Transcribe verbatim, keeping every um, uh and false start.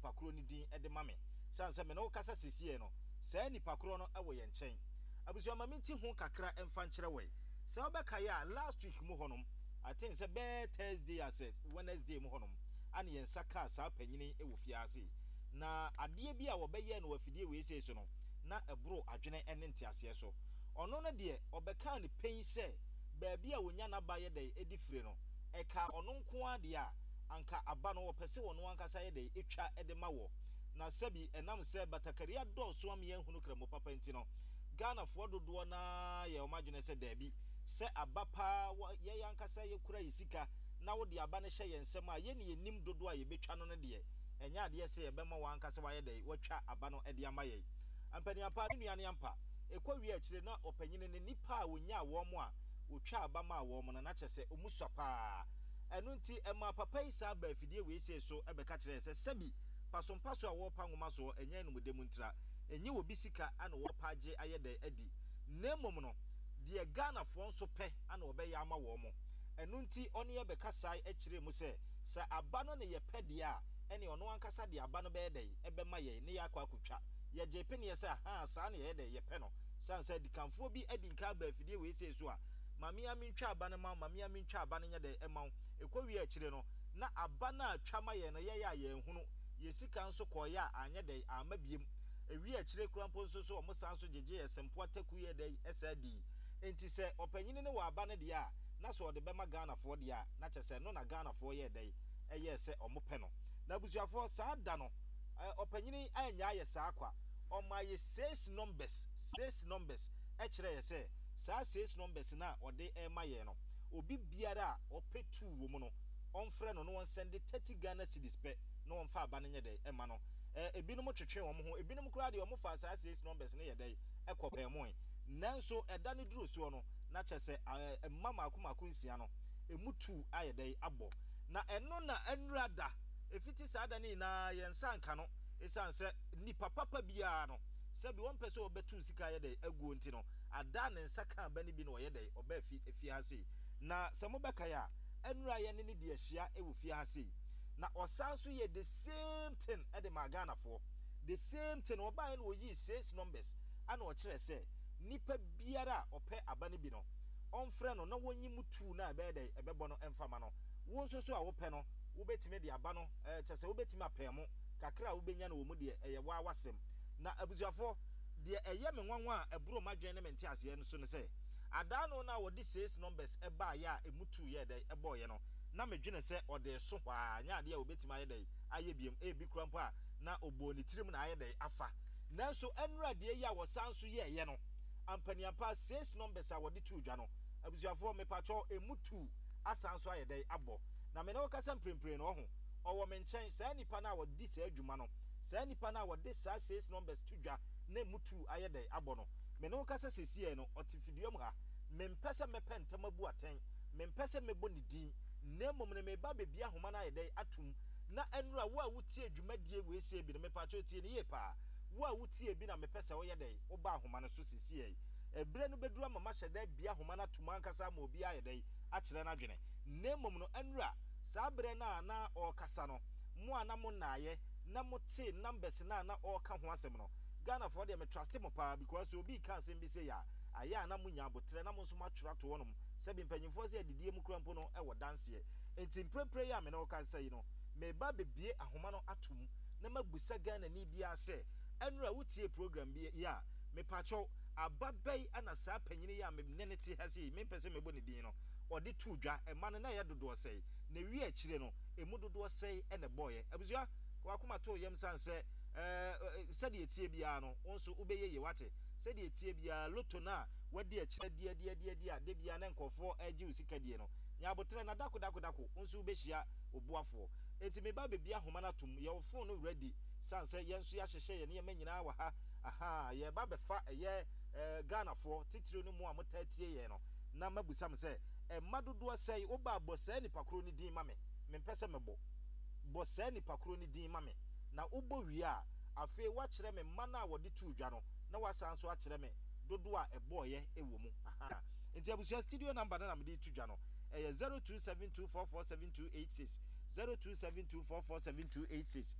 nipa korɔ no din de ma me. Sane sɛ me ne wo kasa sesiei no, saa nipa korɔ no wɔ yɛn nkyɛn. Abusua, ma menti ho kakra mfa nkyerɛ wo ɛ. Sɛ wobɛkae a, last week mu hɔnom, I think sɛ bɛyɛ Thursday asɛ Wednesday mu hɔnom, ane yɛn nsa kaa saa panyini wɔ fie ha sei. Na adeɛ bi a wɔbɛyɛɛ no wɔ afidie wei sei so no, na ɛboro adwene ne nteaseɛ so. Ɔno no deɛ, ɔbɛkaa no pɛn sɛ baabi a wɔnya n'aba yɛ dɛn de fire no, ɛkaa ɔno nko ara deɛ a, anka aba no wɔpɛ sɛ ɔno ankasa yɛ dɛn twa de ma wɔ. Na sɛbi ɛnam sɛ batakari adɔɔso ama yɛanhunu Kramo papa nti no, Ghanafoɔ dodoɔ no ara yɛ wɔn adwene sɛ daabi, sɛ aba pa ara wɔ yɛn ankasa yɛkura yɛn sika na wode aba no hyɛ yɛn nsam a, yɛn na yɛnim dodoɔ a yɛbɛtwa no no deɛ, ɛnyɛ adeɛ sɛ yɛbɛma wɔn ankasa wɔayɛ dɛn, wɔatwa aba no de ama yɛn. Ampaniampa, ne nua no ampa. Ɛkɔ wie akyire na ɔpanyini no nnipa a ɔnyaa wɔn a wɔtwaa aba maa wɔn no, na kyerɛ sɛ wɔn sua pa ara. Ɛno nti ɛmaa papa yi san baa afidie wei sei so bɛka kyerɛɛ sɛ sɛbi pasompaso a wɔrepa nwoma soɔ ɛnyɛ anumdɛ mu ntira, ɛnyɛ obi sika na wɔrepa agye ayɛ dɛn adi, na mmom no deɛ Ghanafoɔ nso pɛ na wɔbɛyɛ ama wɔn. Ɛno nti ɔne yɛn bɛkasae kyerɛɛ mu sɛ, sɛ aba no na yɛpɛ deɛ a, ɛneɛ ɔno ankasa de aba no bɛyɛ dɛn bɛma yɛn na yɛakɔ akɔtwa. Yɛgyee peneɛ sɛ ahaa saa na yɛyɛ dɛn yɛpɛ no. Sane sɛ adikanfoɔ bi adi nka aba afidie wei sei so a, ma me ara mentwa aba no ma wo, ma me ara mentwa aba no nyɛ dɛn mma wo. Ɛkɔ wie akyire no, na aba no a twa ma yɛn no yɛyɛ a yɛanhunu. Yɛn sika nso kɔeɛ a anyɛ dɛn amma biom. Ɛwie akyire koraa mpo nso so wɔn san nso gyegyee yɛn sempoa taku yɛɛ dɛn saa dii. Enti sɛ ɔpanyini no wɔ aba no deɛ a, na sɛ ɔde bɛma Ghanafoɔ deɛ a, na kyerɛ sɛ ɛno na Ghanafoɔ yɛɛ dɛn yɛɛ sɛ wɔpɛ no. Na abusuafoɔ, saa da no, ɔpanyini annyaa yɛ saa kwa. Ɔmaa yɛ six numbers, six numbers, kyerɛɛ yɛ sɛ saa six numbers no a ɔde rema yɛn no, obi biara a ɔpɛ two wɔ mu no, ɔmfrɛ no na ɔnsɛnde thirty Ghana cedis pɛ na ɔmfa aba no nyɛ dɛn mma no. Ebinom twetwee wɔn ho, ebinom koraa deɛ wɔfaa saa six numbers no yɛ dɛn kɔpɛɛmoe. Nanso ɛda no duruu soɔ no, na kyerɛ sɛ mma mmaako mmaako nsia no, emu two ayɛ dɛn abɔ. Na ɛno na nnura da, ɛfiti saa da no nyinaa yɛn nsa anka no, ɛsiane sɛ nnipa papa biara no, sɛbi ɔmpɛ sɛ ɔbɛto sika ayɛ dɛn aguo nti no, ada a ne nsa kaa ba no bi na ɔyɛ dɛn, ɔbaa fi fie ha sei. Na sɛ mobɛkae a, nnura yɛne no di ahyia wɔ fie ha sei. Na ɔsan nso yɛ the same thing de maa Ghanafoɔ. The same thing, ɔbaeɛ na ɔyii six numbers ɛna ɔkyerɛɛ sɛ nipa biara a ɔpɛ aba no bi no, ɔmfrɛ no na wɔnyi mu two no a ɛbɛyɛ dɛn, ɛbɛbɔ no mfa ma no. Wo nso so a wopɛ no, wobɛtumi de aba no, ɛɛ kyerɛ sɛ wobɛtumi apɛɛ mo, kakra a wobɛnya no wɔ mu deɛ, ɛyɛ wo ara w'asɛm. Na abusuafoɔ, deɛ ɛyɛ me nwanwa a ɛboro m'adwene ne me nteaseɛ so ne sɛ, adaano no a wɔde six numbers baeɛ a ɛmu two yɛɛ dɛn, ɛbɔeɛ no, na medwene sɛ ɔde reso hɔ ara, ɛnyɛ adeɛ a ɔbɛtumi ayɛ dɛn ayɛ biom, ebi koraa mpo a na ɔbɔɔ ne tirim na ayɛ dɛn afa. Nanso ɛnnora deɛ yi a wɔsan nso yɛeɛ no, ampaniampa six numbers a wɔde too dwa no, abusuafoɔ mepakyɛw ɛmu two asan nso ayɛ dɛn abɔ. Na me ne wo kasa mprempren no, ɔho, ɔwɔ me nkyɛn, saa nipa no a ɔdi saa dwuma no, saa nipa no a wɔde saa six numbers to dwa na ɛmu two ayɛ dɛn abɔ no, me ne wo kasa sesiei no, ɔte fidua mu ha. Mempɛ sɛ mɛpɛ ntɛm abu atɛn, mempɛ sɛ mɛbɔ ne din, na mmom no mereba abɛbue ahoma no ayɛ dɛn atom. Na ɛnora, wo a wotie dwumadie wei sei bi no, mepakyɛw tie no yie paa. Wo a wotie bi na mepɛ sɛ woyɛ dɛn, woba ahoma no so sesiei. Ɛberɛ no bɛduru ama mahyɛ da abue ahoma no atom ankasa ama obiara ayɛ dɛn, akyerɛ n'adwene. Na mmom no, ɛnora, saa berɛ no a na ɔrekasa no, mo a na mo nnaeɛ na motee numbers no a na ɔreka ho asɛm no, Ghanafoɔ deɛ me truste mo paa because sɛ obi reka asɛm bi sei a, ayɛ a na monya aboterɛ na mo nso moatwerɛ ato hɔnom. Sɛbi mpanyimfoɔ sɛ adidie mu koraa mpo no wɔ danseɛ. Enti mprempren yi a me ne wo kasa yi no, mereba abɛbue ahoma no ato mu na mabisa Ghanani biara sɛ, ɛnora wotiee program bi yi a, mepakyɛw, aba bɛn na saa panyini yi a me ne no te ha sei, mempɛ sɛ mɛbɔ ne din no, ɔde too dwa? Mma no na ɛyɛ dodoɔ sɛn? Na ɛwie akyire no, ɛmu dodoɔ sɛn na ɛbɔeɛ? Abusua, ka w'akoma to wo yam sane sɛ, ɛɛ, sɛdeɛ ɛteɛ biara no, wo nso wobɛyɛ yie, woate? Sɛdeɛ ɛteɛ biara, lotto no a woadi akyire adi adi adi adi a da biara na nkurɔfoɔ regye wo sika die no, nya aboterɛ na dako dako dako wo nso wobɛhyia wo boafoɔ. Enti meba abɛbue ahoma no atom, yɛ wo phone no ready, sane sɛ yɛn nso yɛahyehyɛ yɛn nneɛma nyinaa wɔ ha, ahaa, yɛreba abɛfa ɛyɛ eh, Ghanafoɔ, titiriw ne mo a motaa tie yɛn no, na mabisa mo sɛ, mma dodoɔ sɛn, woba a bɔ saa nipa korɔ no din ma me, mempɛ sɛ mɛbɔ, bɔ saa nipa korɔ no din ma me, na wobɔ wie a, afei woakyerɛ me mma no a wɔde too dwa no, na woasan nso akyerɛ me dodoɔ a ɛbɔeɛ wɔ mu. Ahaa. Nti abusua, studio number no na mede reto dwa no, ɛyɛ zero two seven two four four seven two eight six, zero two seven two four four seven two eight six.